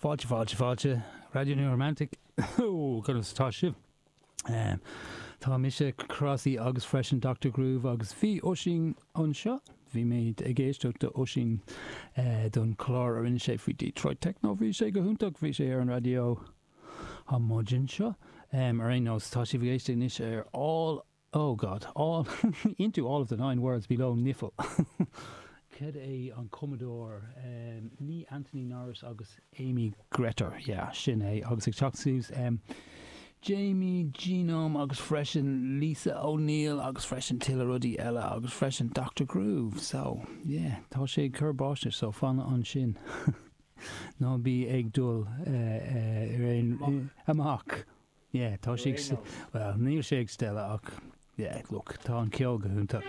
Fáilte, fáilte, fáilte. Raidió New Romantic. Ó, conas atá sibh? Tá mise, Crossy, agus freisin Doctor Groove agus bhí Oisín anseo. Bhí mé ag éisteacht do Oisín don chlár a rinne sé faoi Detroit Techno. Bhí sé go hiontach. Bhí sé ar an raidió an maidin seo. Ar aon nós, tá sibh ag éisteacht anois ar All Oh God, all, into all of the nine worlds below Nifl. Cad é an cumadóir? Ní Anthony Norris agus Amy Greder, yeah, sin é. Agus ag teacht suas, Jamie Genome agus freisin Lisa O'Neill agus freisin tuilleadh rudaí eile agus freisin Doctor Groove. So, yeah, tá sé ag cur báistí, so fan ansin. Ná bí ag dul ar aon, amach. Yeah, tá sé ag, well, níl sé ag stealladh ach, yeah, look, tá an ceol go hiontach.